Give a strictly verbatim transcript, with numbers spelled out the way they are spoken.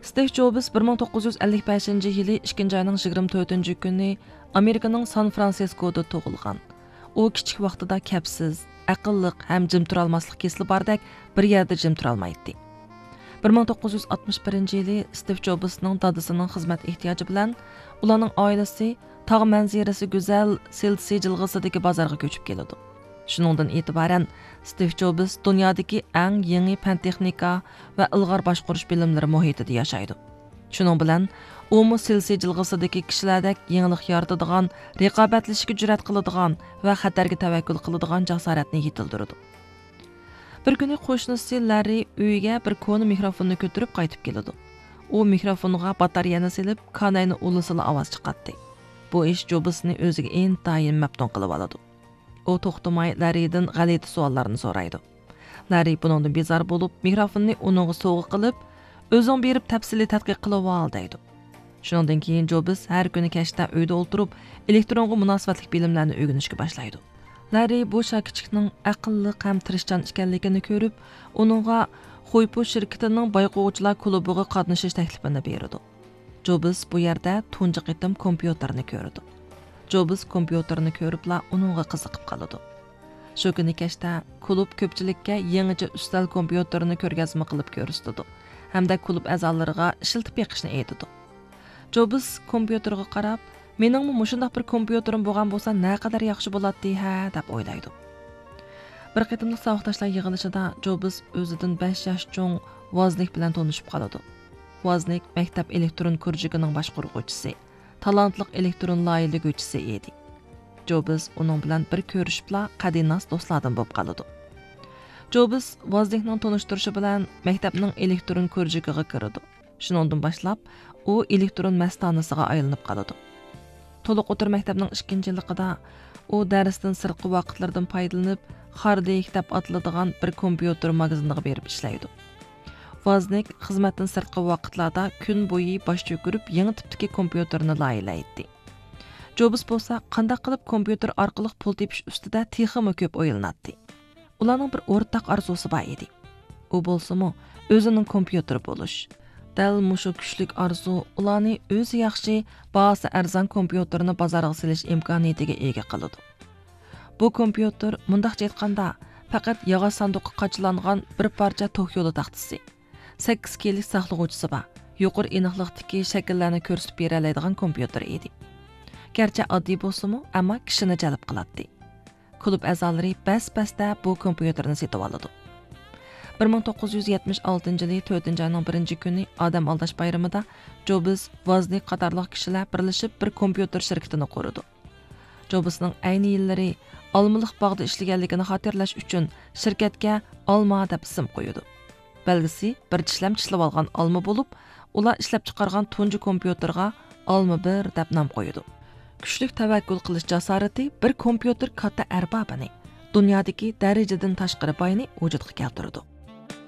ستىف جوبس بىر مىڭ توققۇز يۈز ئەللىك بەشىنچى يىلى ئىككىنچى ئاينىڭ يىگىرمە تۆتىنچى كۈنى ئامېرىكىنىڭ سان فرانسىسكودا تۇغۇلغان. ئۇ كىچىك ۋاقتىدا كەپسىز، ئەقىللىق ھەم جىم تۇرالماسلىق كېسىلى باردەك بىر يەردە جىم تۇرالمايتتى. بىر مىڭ توققۇز يۈز ئاتمىش بىرىنچى يىلى ستىف جوبسنىڭ دادىسىنىڭ خىزمەت ئېھتىياجى بىلەن ئۇلارنىڭ ئائىلىسى تاغ مەنزىرىسى گۈزەل سىلسى جىلغىسىدىكى بازارغا كۆچۈپ كېلىدۇ. شۇنىڭدىن ئېتىبارەن، ستىف جوبس دۇنيادىكى ئەڭ يېڭى پەن-تېخنىكا ۋە ئىلغار باشقۇرۇش بىلىملىرى مۇھىتىدا ياشايدۇ. شۇنىڭ بىلەن، ئۇمۇ سىلسى جىلغىسىدىكى كىشىلەردەك يېڭىلىق يارىتىدىغان، رىقابەتلىشىشكە جۈرئەت قىلىدىغان ۋە خەتەرگە تەۋەككۈل قىلىدىغان جاسارەتنى يېتىلدۈرىدۇ. بىر كۈنى قوشنىسى لاررى ئۆيىگە بىر كونا مىكروفوننى كۆتۈرۈپ قايتىپ كېلىدۇ. ئۇ مىكروفونغا باتارېيەنى سېلىپ، كاناينى ئۇلىسىلا ئاۋاز چىقاتتى. بۇ ئىش جوبسنى ئۆزىگە ئىنتايىن مەپتۇن قىلىۋالىدۇ. ئۇ توختىماي لاررىدىن غەلىتە سوئاللارنى سورايدۇ. لاررى بۇنىڭدىن بىزار بولۇپ، مىكروفوننى ئۇنىڭغا سوۋغا قىلىپ، «ئۆزۈڭ بېرىپ تەپسىلىي تەتقىق قىلىۋال» دەيدۇ. شۇنىڭدىن كېيىن جوبس ھەر كۈنى كەچتە ئۆيدە ئولتۇرۇپ، ئېلېكترونغا مۇناسىۋەتلىك بىلىملەرنى ئۆگىنىشكە باشلايدۇ. لاررى بۇ شاكىچىكنىڭ ئەقىللىق ھەم تىرىشچان ئىكەنلىكىنى كۆرۈپ، ئۇنىڭغا خۇيپۇ شىركىتىنىڭ بايقىغۇچىلار كۇلۇبىغا قاتنىشىش تەكلىپىنى بېرىدۇ. جوبس بۇ يەردە تۇنجى قېتىم كومپيۇتېرنى كۆرىدۇ. جوبس كومپيۇتېرنى كۆرۈپلا ئۇنىڭغا قىزىقىپ قالىدۇ. شۇ كۈنى كەچتە كۇلۇب كۆپچىلىككە يېڭىچە ئۈستەل كومپيۇتېرىنى كۆرگەزمە قىلىپ كۆرسىتىدۇ ھەمدە كۇلۇب ئەزالىرىغا ئىشلىتىپ بېقىشنى ئېيتىدۇ. جوبس كومپيۇتېرغا قاراپ، «مېنىڭمۇ مۇشۇنداق بىر كومپيۇتېرىم بولغان بولسا نەقەدەر ياخشى بولاتتى ھە» دەپ ئويلايدۇ. بىر قېتىملىق ساۋاقداشلار يىغىلىشىدا جوبس ئۆزىدىن بەش ياش چوڭ ۋازنىك بىلەن تونۇشۇپ قالىدۇ. ۋازنىك مەكتەپ ئېلېكترون كۇرژۇكىنىڭ باشقۇرغۇچىسى، تالانتلىق ئېلېكترون لايىھىلىگۈچىسى ئىدى. جوبس ئۇنىڭ بىلەن بىر كۆرۈشۈپلا قەدىناس دوستلاردىن بولۇپ قالىدۇ. جوبس ۋازنىكنىڭ تونۇشتۇرۇشى بىلەن مەكتەپنىڭ ئېلېكترون كۇرژۇكىغا كىرىدۇ. شۇنىڭدىن باشلاپ، ئۇ ئېلېكترون مەستانىسىغا ئايلىنىپ قالىدۇ. تولۇق ئوتتۇرا مەكتەپنىڭ ئىككىنچى يىللىقىدا ئۇ دەرستىن سىرتقى ۋاقىتلىرىدىن پايدىلىنىپ، خاردېيك دەپ ئاتىلىدىغان بىر كومپيۇتېر ماگىزىنىغا بېرىپ ئىشلەيدۇ. ۋازنىك خىزمەتتىن سىرتقى ۋاقىتلاردا كۈن بويى باش چۆكۈرۈپ يېڭى تىپتىكى كومپيۇتېرنى لايىھىلەيتتى. جوبس بولسا قانداق قىلىپ كومپيۇتېر ئارقىلىق پۇل تېپىش ئۈستىدە تېخىمۇ كۆپ ئويلىناتتى. ئۇلارنىڭ بىر ئورتاق ئارزۇسى بار ئىدى. ئۇ بولسىمۇ ئۆزىنىڭ كومپيۇتېرى بولۇش. دەل مۇشۇ كۈچلۈك ئارزۇ ئۇلارنى ئۆزى ياخشى، باھاسى ئەرزان كومپيۇتېرنى بازارغا سېلىش ئىمكانىيىتىگە ئىگە قىلىدۇ. بۇ كومپيۇتېر، مۇنداقچە ئېيتقاندا، پەقەت ياغاچ ساندۇققا قاچىلانغان بىر پارچە توك يولى تاختىسى، سەككىز كېيىنلىك ساقلىغۇچىسى بار، يۇقىرى ئېنىقلىقتىكى شەكىللەرنى كۆرسىتىپ بېرەلەيدىغان كومپيۇتېر ئىدى. گەرچە ئاددىي بولسىمۇ، ئەمما كىشىنى جەلپ قىلاتتى. كۇلۇب ئەزالىرى بەس-بەستە بۇ كومپيۇتېرنى سېتىۋالىدۇ. بىر مىڭ توققۇز يۈز يەتمىش ئالتىنچى يىلى تۆتىنچى ئاينىڭ بىرىنچى كۈنى ئادەم ئالداش بايرىمىدا جوبس، ۋازنىك قاتارلىق كىشىلەر بىرلىشىپ بىر كومپيۇتېر شىركىتىنى قۇرىدۇ. جوبسنىڭ ئەينى يىللىرى ئالمىلىق باغدا ئىشلىگەنلىكىنى خاتىرىلەش ئۈچۈن شىركەتكە ئالما دەپ ئىسىم قويىدۇ. بەلگىسى بىر چىشلەم چىشلىۋالغان ئالما بولۇپ، ئۇلار ئىشلەپچىقارغان تۇنجى كومپيۇتېرغا ئالما بىر دەپ نام قويىدۇ. كۈچلۈك تەۋەككۈل قىلىش جاسارىتى بىر كومپيۇتېر كاتتا ئەربابىنى، دۇنيادىكى دەرىجىدىن تاشقىرى باينى ۋۇجۇدقا كەلتۈرىدۇ.